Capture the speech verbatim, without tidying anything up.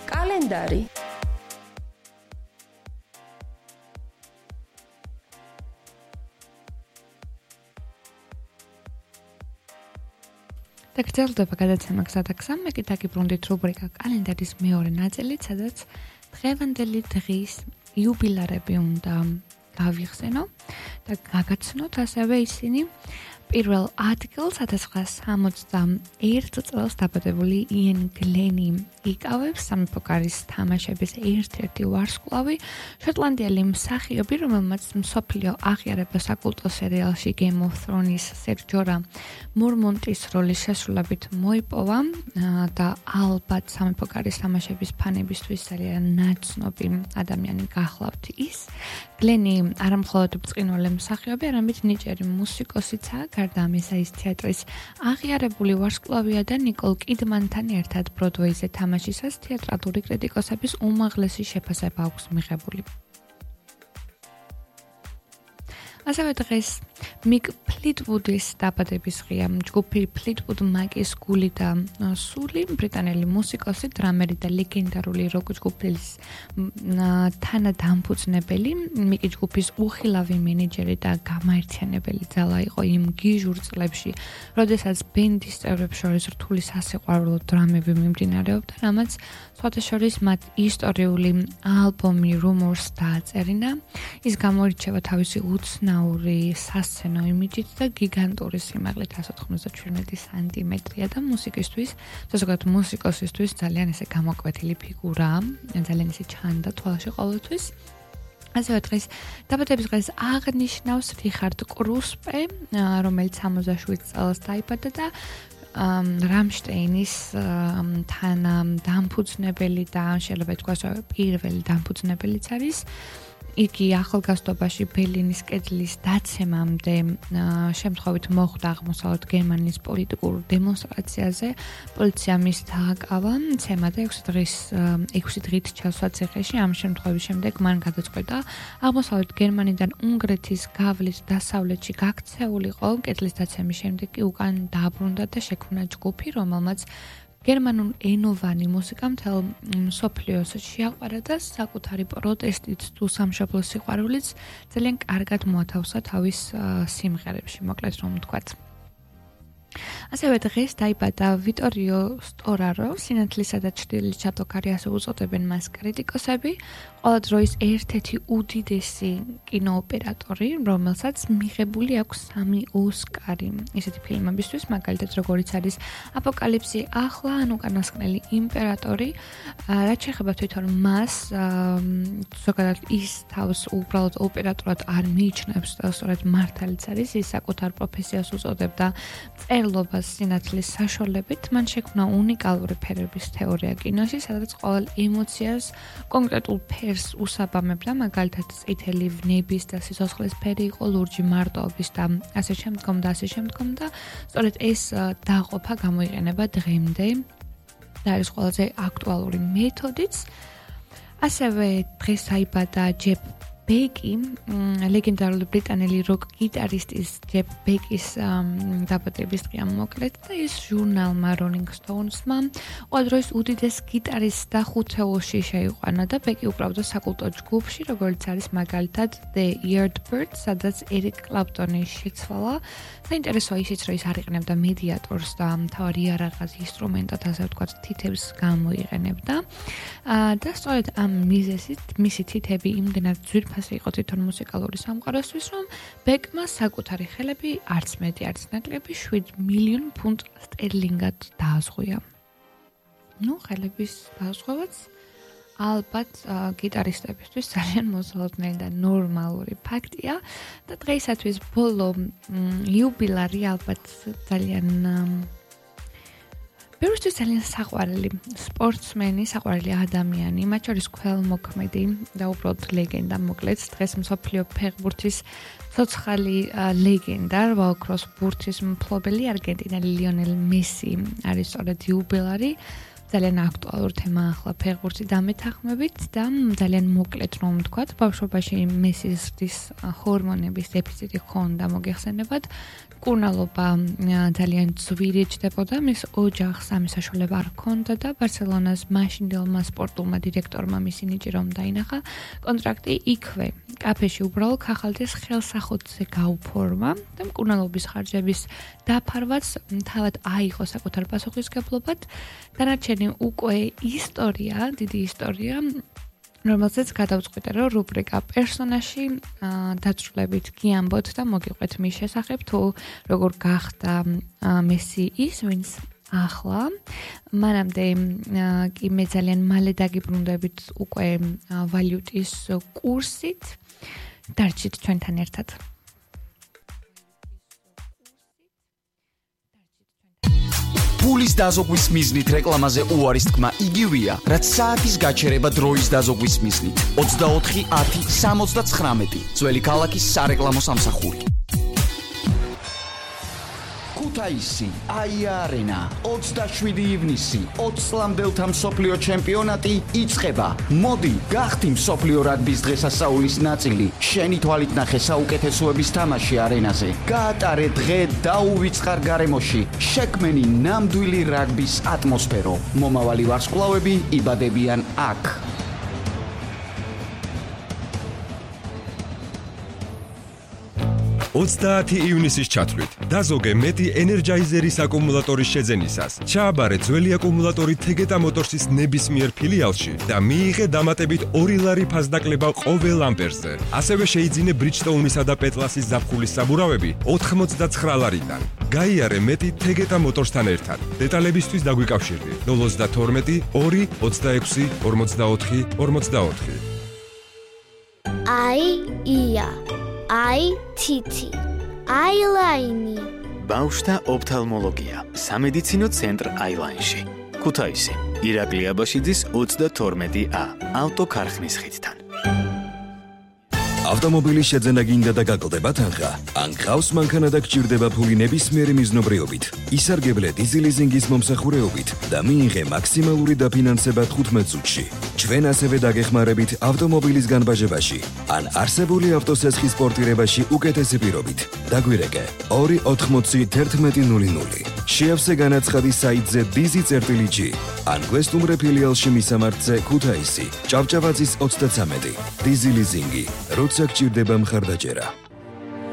კალენდარი და გრძელდება გადაცემა გზადა გზა, მე კი დაგიბრუნდით რუბრიკა კალენდარის მეორე ნაწილით, სადაც დღევანდელი დღის იუბილარები უნდა გავიხსენო და გაგაცნოთ ასევე ისინი. პირველ ადგილს ათას ცხრაას სამოცდაერთ წელს დაბადებული იენ გლენი იკავებს სამეფო კარის თამაშების ერთ-ერთი ვარსკვლავი, შოტლანდიელი მსახიობი, რომელმაც მსოფლიო აღიარება საკულტო სერიალში Game of Thrones სერჯორა მორმონტის როლის შესრულებით მოიპოვა და ალბათ სამეფო კარის თამაშების ფანებისთვის ძალიან ნაცნობი ადამიანი გახლავთ ის. გლენი არამხოლოდ ბრწყინვალე მსახიობი, არამედ ნიჭიერი მუსიკოსიცაა. გარდა ამისა ის თეატრის აღიარებული ვარსკვლავია და ნიკოლ კიდმანთან ერთად ბროდვეიზე თამაშისას თეატრალური კრიტიკოსების უმაღლესი შეფასება აქვს მიღებული. ასევე დღეს მიკ ფლიტვუდის დაბადების დღეა. ჯგუფი ფლიტვუდ მაკის გული და სული, ბრიტანელი მუსიკოსი, დრამერი და ლეგენდარული როკ ჯგუფის თანადამფუძნებელი, მიკი ჯგუფის უხილავი მენეჯერი და გამაერთიანებელი ძალა იყო იმ გიჟურ წლებში, როდესაც ბენდის წევრებს შორის რთული სასიყვარულო დრამები მიმდინარეობდა, რამაც სხვათა შორის მათ ისტორიული ალბომი Rumors დააწერინა. ის გამოირჩევა თავისი უცნაური სასცენო იმიჯით და გიგანტური სიმაღლით εκατს ოთხმოცდაშვიდმეტი სანტიმეტრია და მუსიკისთვის, ზოგადად მუსიკოსისთვის ძალიან ესე გამოკვეთილი ფიგურაა, ძალიან ესე ჩანდა თვალში ყოველთვის. ასევე დღეს დაბადების დღეს აღნიშნავს რიხარდ კრუსპე, რომელიც სამოცდაშვიდ წელს დაიბადა და რამშტეინის თანადამფუძნებელი და შეიძლება ითქვას პირველი დამფუძნებელიც არის. იგი ახალგაზრდობაში ბერლინის კედლის დაცემამდე შემთხვევით მოხვდა აღმოსავლეთ გერმანიის პოლიტიკურ დემონსტრაციაზე. პოლიცია მის დააკავა, ცემა და ექვსი დღის ექვსი დღით ჩასვა ციხეში. ამ შემთხვევის შემდეგ მან გადაწყვეტა აღმოსავლეთ გერმანიდან უნგრეთის გავლით დასავლეთში გაქცეულიყო. კედლის დაცემის შემდეგ კი უკან დააბრუნდა და შექმნა ჯგუფი, რომელმაც გერმანულ ენოვანი მუსიკა მთელ მსოფლიოს შეაყვარა და საკუთარი პროტესტით თუ სამშობლოს სიყვარულიც ძალიან კარგად მოათავსა თავის სიმღერებში, მოკლედ რომ ვთქვათ. ასევე დღეს დაიბადა ვიტორიო სტორარო, სინათლისა და ჩრდილის ჩატოქარი ასე უწოდებენ მას კრიტიკოსები, ყველა დროის ერთ-ერთი უდიდესი კინოოპერატორი, რომელსაც მიღებული აქვს სამი ოსკარი ისეთი ფილმებისთვის, მაგალითად როგორიც არის აპოკალიფსი ახლა, ან უკანასკნელი იმპერატორი. რაც შეეხება თვითონ მას, ზოგადად ის თავს უბრალოდ ოპერატორად არ მიიჩნევს და სწორედ მართალიც არის, ის საკუთარ პროფესიას უწოდებდა წერლობას სინათლის საშუალებით. მან შექმნა უნიკალური ფერების თეორია კინოში, სადაც ყოველ ემოციას კონკრეტულ ფერს უსაბამებდა, მაგალითად წითელი ვნების და სიცოცხლის ფერი იყო, ლურჯი მარტოობის და ასე შემდგომ და ასე შემდგომ და სწორედ ეს დაყოფა გამოიყენება დღემდე და არის ყველაზე აქტუალური მეთოდიც. ასევე დღეს დაიბადა ჯეფ ბეკი, ლეგენდარული ბრიტანელი როკ გიტარისტის ჯეფ ბეკის დაბადების დღეა მოკლედ და ის ჟურნალმა Rolling Stones-მა ყველა დროის უდიდეს გიტარისტს და ხუთეულში შეიყვანა და ბეკი უკრავდა საკულტო ჯგუფში, როგორც არის მაგალითად The Yardbirds, სადაც ერიკ კლაპტონი შეცვალა. საინტერესოა ისიც, რომ ის არიყენებდა მედიატორს და მთავარი იარაღას ინსტრუმენტად, ასე ვთქვათ, თითებს გამოიყენებდა. და სწორედ ამ მიზეზით მისი თითები იმდენად ძვირფასი იყო თვითონ მუსიკალური სამყაროსთვის, რომ ბეკმა საკუთარი ხელები არც მეტი, არც ნაკლები შვიდ მილიონ ფუნტ სტერლინგად დააზღვია. ნუ, ხელების დააზღვევაც ალბათ გიტარისტებისთვის ძალიან მოსალოდნელი და ნორმალური ფაქტია და დღეისათვის ბოლო იუბილარი ალბათ ძალიან ბევრისთვის ძალიან საყვარელი სპორტსმენი, საყვარელი ადამიანი, მათ შორის ქველმოქმედი და უბრალოდ ლეგენდა, მოკლედ დღეს მსოფლიო ფეხბურთის ცოცხალი ლეგენდა, რვაოქროს ბურთის მფლობელი არგენტინელი ლიონელ მესი არის სწორედ იუბილარი. ძალიან აქტუალური თემა ახლა ფეხბურთი დამეთანხმებით და ძალიან მოკლედ რომ ვთქვათ, ბავშვობაში მესის ზრდის ჰორმონების დეფიციტი ხონდა მოგეხსენებათ. მკურნალობა ძალიან ძვირი ჯდებოდა, მის ოჯახს ამის საშუალება არ ჰქონდა და ბარსელონას მაშინდელმა სპორტულმა დირექტორმა მისი ნიჭი რომ დაინახა, კონტრაქტი იქვე, კაფეში უბრალოდ ხახალდის ხელსახოთზე გაუფორმა და მკურნალობის ხარჯების დაფარვაც თავად აიღო საკუთარ პასუხისგებლობად. დანარჩენი უკვე ისტორია, დიდი ისტორია, რომელზეც გადავწყვიტე, რომ რუბრიკა პერსონაჟი დაწვრილებით გიამბოთ და მოგიყვეთ მის შესახებ, თუ როგორ გახდა მესი ის, ვინც ახლა. მანამდე კი მე ძალიან მალე დაგიბრუნდებით უკვე ვალუტის კურსით. დარჩით ჩვენთან ერთად. ფულის დაზოგვის მიზნით რეკლამაზე უარის თქმა იგივეა, რაც საათის გაჩერება დროის დაზოგვის მიზნით. ოცდაოთხი ათი სამოცდათხრამეტი ძველი ქალაქის სარეკლამო სამსახური. ქუთაისი, აია არენა, ოცდაშვიდი ივნისი, ოცს ლამდელთა მსოფლიო ჩემპიონატი იწყება. მოდი, გახდი მსოფლიო რაგბის დღესასწაულის ნაწილი. შენი თვალით ნახე საუკეთესოების თამაში არენაზე. გაატარე დღე დაუვიწყარ გარემოში. შექმენი ნამდვილი რაგბის ატმოსფერო. მომავალი ვარსკვლავები იბადებიან აქ. ოცდაათი ივნისის ჩათვლით დაზოგე მეტი ენერჯაიზერის აკუმულატორის შეძენისას. ჩააბარე ძველი აკუმულატორი თეგეტა მოტორსის ნებისმიერ ფილიალში და მიიღე დამატებით ორი ლარი ფასდაკლება ყოველ ამპერზე. ასევე შეიძინე ბრიჯსტოუნისა და პეტლასის ზაფხულის საბურავები ოთხმოცდაცხრა ლარიდან. გაიარე მეტი თეგეტა მოტორსთან ერთად. დეტალებისთვის დაგვიკავშირდი ნულ ოცდათორმეტი ორი ოცდაექვსი ორმოცდაოთხი ორმოცდაოთხი. აი ია აი თითი, აილაინი. ბავშვთა ოფთალმოლოგია, სამედიცინო ცენტრ აილაინში. ქუთაისი, ირაკლი აბაშიძის ოცდათორმეტი ა, ავტოქარხნის ხიდთან. ავტომობილის შეძენა გინდა და გაკლდება თანხა? ან გყავს მანქანა და გჭირდება ფული ნებისმიერი მიზნობრიობით, ისარგებლე დიზელიზინგის მომსახურეობით და მიიღე მაქსიმალური დაფინანსება თხუთმეტ წუთში. ჩვენ ასევე დაგეხმარებით ავტომობილის განბაჟებაში ან არსებული ავტოსესხის პორტირებაში უკეთესი პირობით. დაგვირეკე ორი ოთხმოცი თერთმეტი ნული ნული. შეავსე განაცხადი საიტზე დიზი წერტილი ჯი ან გვესტუმრე ფილიალში მისამართზე ქუთაისი, ჭავჭავაძის ოცდაცამეტი. დიზი ლიზინგი, როცა გჭირდება მხარდაჭერა.